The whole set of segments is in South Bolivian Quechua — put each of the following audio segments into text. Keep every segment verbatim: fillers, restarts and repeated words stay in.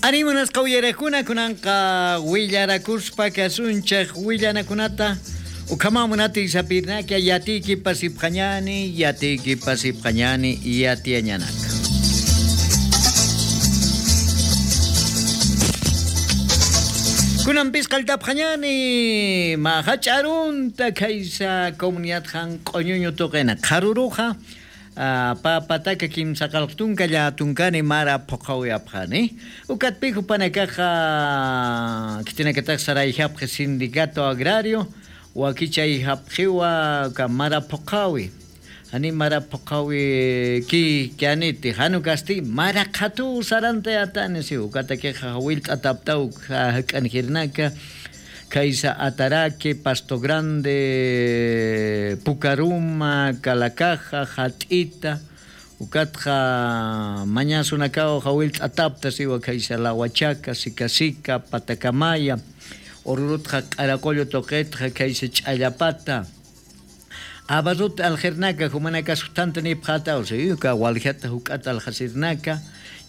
Animunasqa uyarakuna kunanqa willarakuspa kasunchej willanakunata ukhamamunati sapirnaka yatiki pasipqañani yatiki pasipqañani yatiañanaka. Kunanpis qaltapqañani mahach'arunta kaysa comunidad han q'uñuñu tuqina qharuruqa papataka kimsa qalqtunka llatunkani mara phuqawiyapqani ukatpiku panakaqa kitinakataq sarayhapqi sindicato agrario wakichay hapqiwa ka mara phuqawi ani mara phuqawi ki kianiti hanu kasti mara qhatu saranta yatani si ukatakiqa willt'ataptaw hak'anjirnaka Kaisa Ataraque, Pasto Grande, Pucaruma, Calacaja, Jatita, Ucatja, Mañasunacao, Jawil Atapta, Siwa Kaisa La Huachaca, Sicasica, Patacamaya, Orurutja, Caracollo Toquetja, Kaisa Chayapata, Abarrut Aljernaca, Jumanaca, Sustantani, Pjata, Oseyuca, Waljata, Jucata, Aljacirnaca,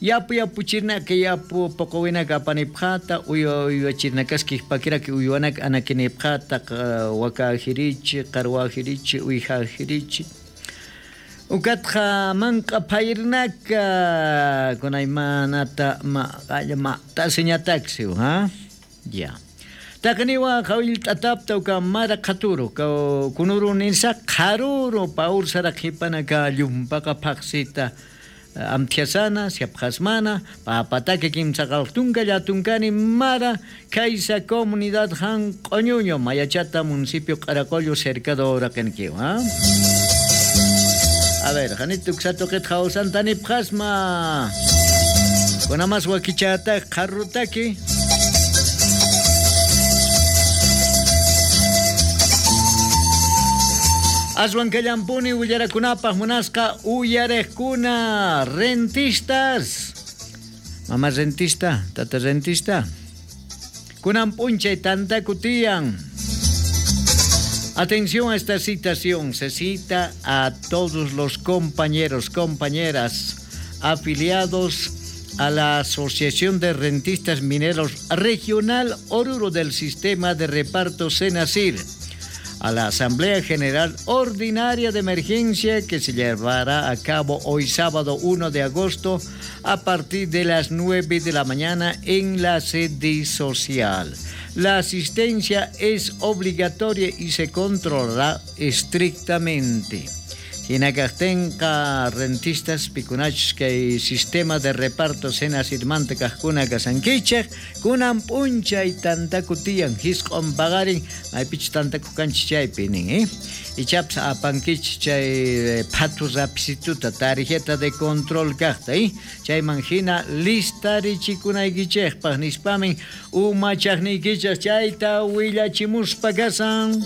Yapu yapu chirnaka yapu poqowinaka apanipqata uyu uyuachirnakaski pakiraki uyuanaka anakinipqata wakajirichi qarwajirichi uyjajirichi ukatqa manqa phayrnaka kunaymanata ma ma tasiñataksi ha ya taqniwa qawilt'atapta uka mara qhaturu kunuru ninsa qharuru paursara qhipanaka llumpaqa phaqsita amtiasana, siapjasmana, papatake kimsaqaltunka llatunkani mara kaysa comunidad han q'uñuño Mayachata municipio Caracollo cercado Uraquenquio, ¿ah? A ver, janito ksatoqet jawsantani pjasma kunamas wakichata qarrutaki Aswan kallampuni willarakunapaj munasqa uyarejkuna rentistas. Mamá rentista, tata rentista. Kunan p'unchay tantakutiyan. Atención a esta citación. Se cita a todos los compañeros, compañeras afiliados a la Asociación de Rentistas Mineros Regional Oruro del Sistema de Reparto Senacir, a la Asamblea General Ordinaria de Emergencia que se llevará a cabo hoy sábado uno de agosto a partir de las nueve de la mañana en la sede social. La asistencia es obligatoria y se controlará estrictamente. Hinakastenka rentistas pikunachus kay sistema de reparto Senacirmanta kajkuna kasankichej kunan p'unchay tantakutiyan hisq'on paqarin maypichus tantakukanchis chaypi nin eh ichapas apankichis chay phatu rapisituta tarjeta de control kajta eh chayman hina listarichikunaykichejpaj nispamin umachajniykichej chayta willachimuspa kasan.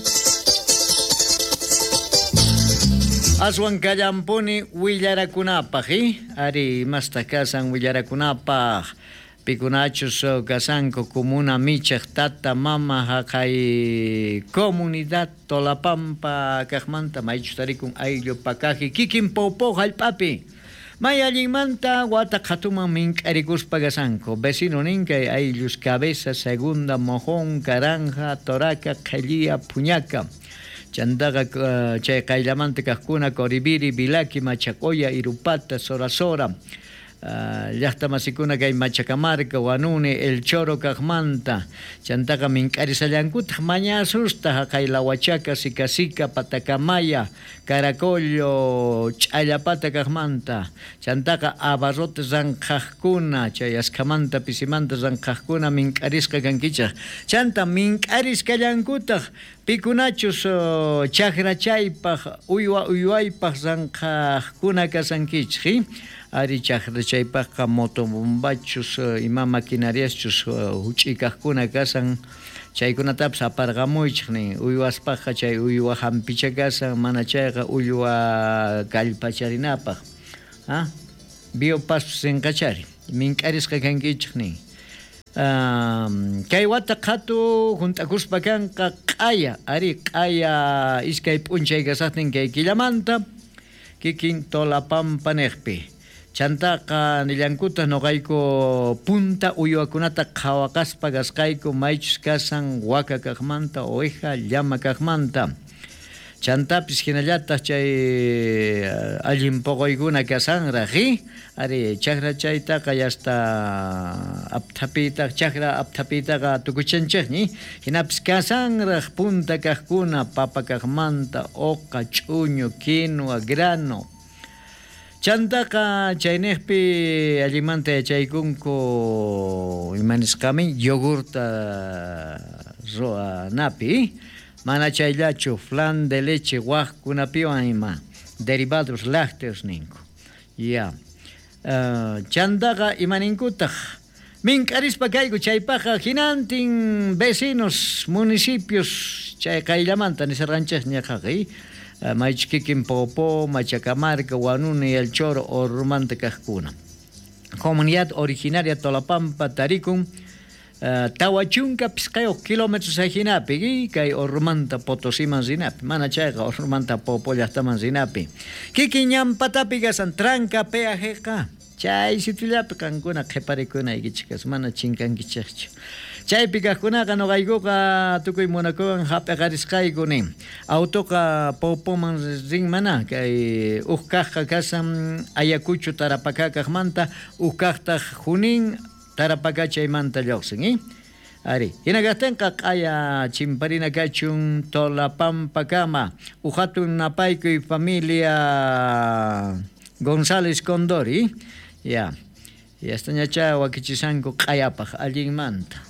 Aswan kallampuni willarakunapaj, eh? Ari masta kasan willarakunapaj. Pikunachus kasanko comuna michaj tata mama haqay comunidad Tolapampa kajmanta maychus tarikun ayllu pakaji kikin popo jallp'api. May allinmanta wata qhatuman mink'arikuspa kasanko. Vecino ninkay ayllus Cabeza, Segunda, Mojón, Caranja, Toraca, Qhellía, Puñaca. Chandaqa chay qayllamanta kajkuna Coribiri, Vilaki, Machacoya, Irupata, Sora Sora, llaqta masikuna kay Machacamarca, Wanuni, El Choro kajmanta. Chantaqa mink'arisallankutaq mañasusta haqay La Huachaca, Sicasica, Patacamaya, Caracollo, Ch'allapata kajmanta. Chantaqa abarrote ranqhaqkuna, chay askhamanta pisimanta ranqhaqkuna mink'arisqa kankichaq. Chanta mink'arisqallankutaq pikunachus chaqrachaypaq uywa uywaypaq ranqhaqkuna kasankichik. Ari chaqrachaypaqqa motobombachus ima maquinariaschus huch'ikaqkuna kasan chaykunatapas aparqamuychik nin uywaspaqqa chay uywa hampicha kasan mana chayqa uywa kallpacharinapaq ha biopaspas sinqachari mink'arisqa kankichik nin. Um, kay wata qhatu junt'akuspa kanqa q'aya ari q'aya iskay p'unchay kasaqtin kay killamanta kikin Tolapampa niqpi. Chantaqa nillankuta noqayku punta uywakunata qhawaqaspa kasqayku maychus kasan waka kaqmanta, oveja, llama kaqmanta. Chantapis hinallataq chay allin poqoykuna kasanraq, ari chakra chaytaqa yasta apthapitaq chakra apthapitaqa tukuchanchikñi, hinapis kasanraq punta kaqkuna papa kaqmanta, oqa, ch'uñu, quinoa, grano. Chantaqa chayniqpi allimanta yachaykunku imanisqamin yogurta ruwanapi, mana chayllachu flan de leche waqkunapiwan ima derivados lácteos ninku. Ya. Uh, chantaqa imaninkutaq mink'arispa kayku chaypaqqa hinantin vecinos municipios chay qayllamanta nisarqanchik ñaqaqi maychus kikin Popó, Machacamarca, Huanuni, El Choro, Orurumanta kaqkuna. Comunidad originaria Tolapampa tarikun uh, tawa chunka pisqayuq kilómetros ajinapi kay Orurumanta Potosiman rinapi, mana chayqa Orurumanta Popó llaqtaman rinapi. Kikin ñampatapi kasan tranca peajeqa chay sitiollapi qankuna qhiparikunaykichik mana chinkankichikchu. Chaypi kaqkunaqa noqaykuqa tukuy munakuwan hap'iqarisqayku nin. Autoqa Popoman rin mana kay uj kaqqa kasan Ayacucho Tarapacá kaqmanta, uj kaqtaq Junín Tarapacá chaymanta lluqsin, eh? Ari, hina kaqtinqa q'aya chimparina kachun Tolapampakama, uj hatun napaykuy familia González Condori, ya. Yastañachá wakichisanku q'ayapaq allinmanta.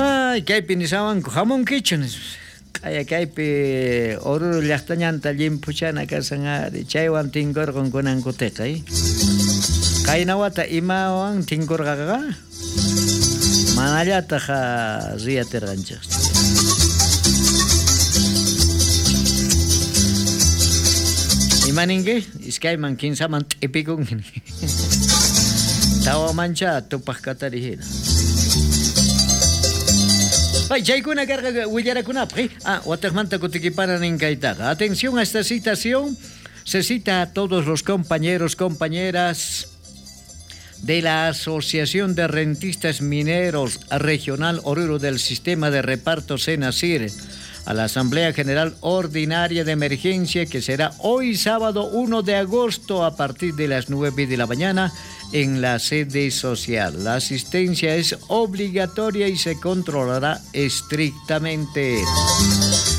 Ay, kaypi nisawanku hamunkichu nispa. Q'aya kaypi Oruro llaqtañanta llimphuchana kasan ari, chaywan tinkurqun kunankutiqa, eh? Qayna wata imawan tinkurqaqa manallataq riyatirqanchik. Imaninki? Iskayman kinsaman t'ipikunki. Tawamancha tupaq katari hina. Ay, chaykuna karqa willarakunapaq, ah, wataqmanta kutikipana ninkaytaqa. Atención a esta citación. Se cita a todos los compañeros, compañeras de la Asociación de Rentistas Mineros Regional Oruro del Sistema de Reparto Senasir a la Asamblea General Ordinaria de Emergencia que será hoy sábado uno de agosto a partir de las nueve de la mañana en la sede social. La asistencia es obligatoria y se controlará estrictamente.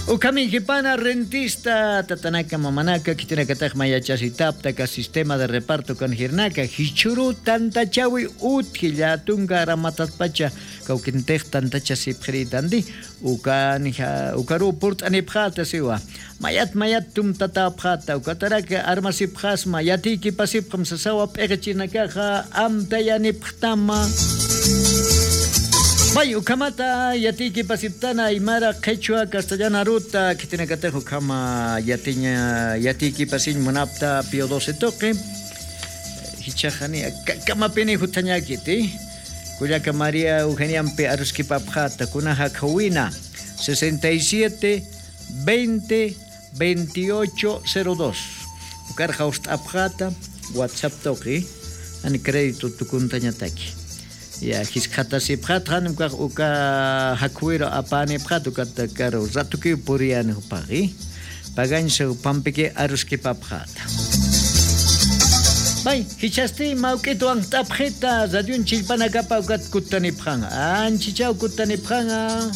Ukamijipana rentista tatanaka mamanaka kitinakataj mayachasitaptaka sistema de reparto con jirnaka hichuru tantachawi utjillatunga ramatatpacha kauquintej tantacha sipjritandi ukanija ukaru purt'anipjata siwa mayat mayat tumtatapjata ukataraka armasipjasma yatiki pasipjam sasawa p'eqichinakaja amtayanipjtama. Bay ukamata yatiki pasiptana aymara quechua castellana ruta kitinakatejo kama yatiña yatiki pasin munapta pio doce toque hichajani kamapini hutañakiti Cuyaca María Eugeniampe Aruskipapjata kunaja kawina sesenta y siete veinte veintiocho cero dos ukarja ustapjata WhatsApp toque ani crédito tukuntañataki. Ya hiskata sipjat hanum kaq uka hakuiro apani pjat uka karo ratuki purian upaqi pagancho pampiki aruskipapjata. Bay hichasti mawk'ituwan tapjita radion chillpanakapa ukat kutanipjan anchichaw kutanipjana.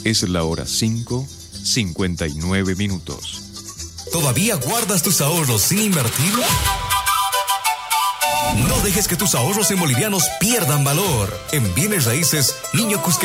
Es la hora cinco, cincuenta y nueve minutos. ¿Todavía guardas tus ahorros sin invertir? No dejes que tus ahorros en bolivianos pierdan valor. En bienes raíces, Niño Cusqueño.